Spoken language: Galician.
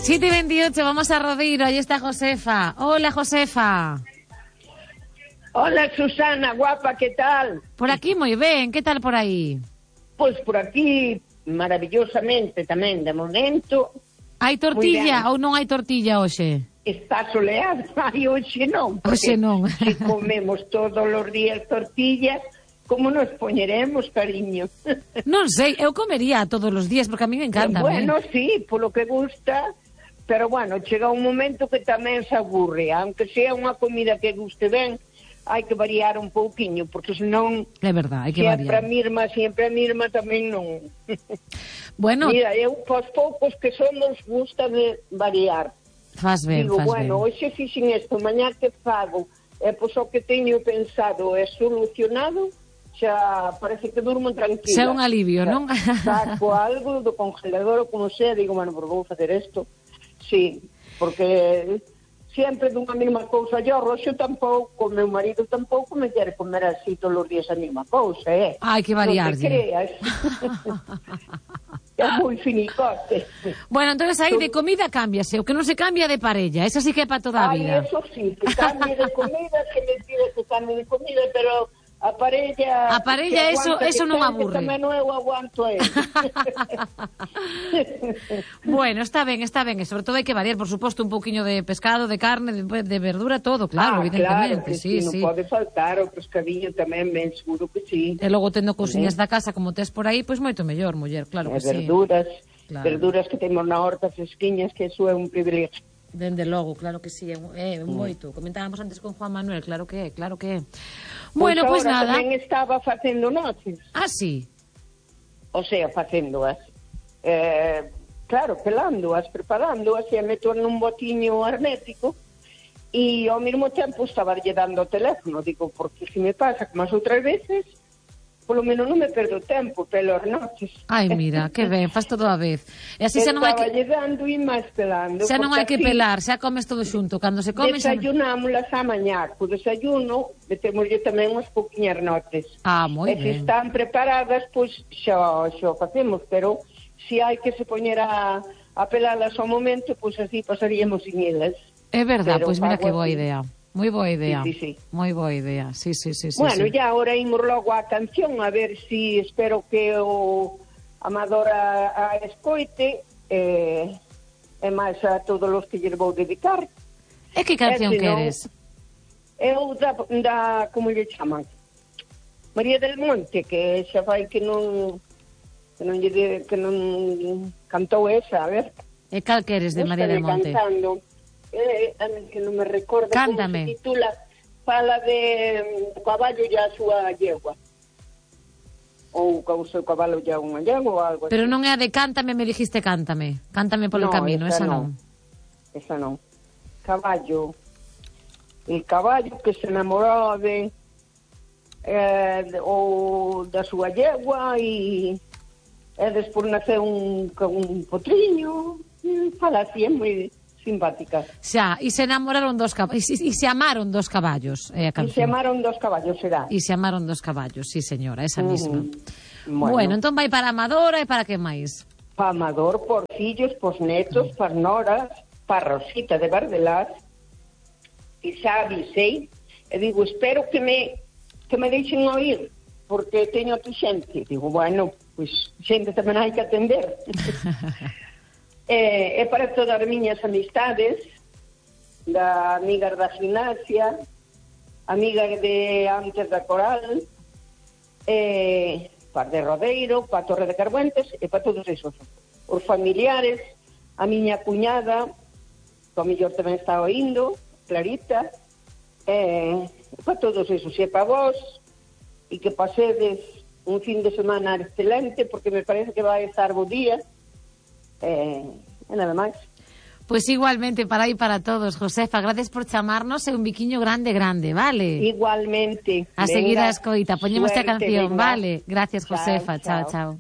7:28, vamos a Rodeiro, ahí está Josefa. Hola, Josefa. Hola, Susana, guapa, ¿qué tal? Por aquí moi ben, que tal por aí? Pois por aquí, maravillosamente tamén, de momento. Hai tortilla ou non hai tortilla hoxe? Está soleado, ai, hoxe non. Hoxe non. Se comemos todos os días tortillas, como nos poñeremos, cariño? Non sei, eu comería todos os días, porque a mí me encanta. Bueno, sí, polo que gusta, pero bueno, chega un momento que tamén se aburre, aunque sea unha comida que guste ben, hai que variar un pouquiño, porque senón é verdad, hai que variar. Sempre a mirma tamén non. Bueno, mira, eu pos poucos que somos gusta de variar. Faz ben, digo, faz bueno, ben. hoxe fixen isto, mañá que fago, pois o que teño pensado é solucionado, xa parece que durmo tranquila. Xa un alivio, non? Saco algo do congelador ou como sea, digo, bueno, pues vou facer isto. Sí, porque sempre dunha mesma cousa, yo roxo tampouco, meu marido tampouco me quere comer así todos os días a mesma cousa, Hai que variar, non te creas. É moi finicote. Bueno, entonces aí de comida cámbiase, o que non se cambia de parella, esa sí que é para toda a vida. Eso sí, que cambie de comida, que me pide que cambie de comida, pero a parella eso non aburre. Tamén eu aguanto a él. Bueno, está ben, e sobre todo hai que variar, por suposto, un pouquiño de pescado, de carne, de verdura, todo, claro, evidentemente. Claro que sí, non pode faltar o pescadillo tamén, ben seguro que sí. E logo tendo cousiñas da casa como tes por aí, pois moito mellor, muller, claro que sí. Verduras que temos na horta fresquiñas, que eso é un privilegio. Dende logo, claro que sí, é moito. Comentábamos antes con Juan Manuel, claro que é. Bueno, pois nada. Tamén estaba facendo noces. Ah, sí? O sea, facéndoas. Claro, pelándoas, preparándoas, e meto nun botiño hermético, e ao mesmo tempo estaba lle dando o teléfono. Digo, porque se me pasa como as outras veces, polo menos non me perdo tempo pelas noches. Ai, mira, que ben, faz todo a vez. E así xa non hai que... Estaba lle dando e máis pelando. Xa non hai que pelar, xa comes todo xunto. Cando se come... Desayunámolas a mañá. Co desayuno, metémoslle tamén unhas pouquiñas notes. Ah, moi ben. E se están preparadas, pois xa facemos, pero se hai que se poñer a pelalas ao momento, pois así pasaríamos sin elas. É verdad, pois mira que boa idea. Moi boa idea. Sí. Moi boa idea. Sí. Bueno, ya ahora imos logo a canción, a ver si espero que o Amador a escoite e máis a todos os que lles vou dedicar. E que canción queres? Eu da como lle chaman? María del Monte, que xa fai que non cantou esa, a ver. E cal queres de María del Monte? Cantando. Que non me recordo. Cántame. Como se titula, fala de caballo e a súa yegua, ou o seu cabalo e unha yegua ou algo así. Pero non é a de Cántame, me dijiste Cántame polo camino, esa non. Esa non. Caballo, el caballo que se enamorou ou da súa yegua e despois naceu un potriño, fala así, é moi simpática. Xa, e se enamoraron dos caballos, e se amaron dos caballos, é a canción. E se amaron dos caballos, será. E se amaron dos caballos, sí, señora, esa misma. Bueno, entón vai para Amadora e para que máis? Para Amador, por fillos, por netos, para noras, para Rosita de Bardelás, e xa avisei, e digo, espero que me deixen oír, porque teño tu xente. Digo, bueno, pois xente tamén hai que atender. É para todas as miñas amistades, da amigas da gimnasia, amigas de antes da Coral, para de Rodeiro, para Torre de Carbuentes, e para todos esos. Os familiares, a miña cuñada, que ao mellor tamén está oindo, Clarita, para todos esos, e para vos, e que pasedes un fin de semana excelente, porque me parece que vai estar bo día, e nada máis. Pois igualmente para aí para todos, Josefa, gracias por chamarnos, e un biquiño grande, vale? Igualmente. A seguir a escoita, poñemos a canción, venga. vale? Gracias, Josefa, chao.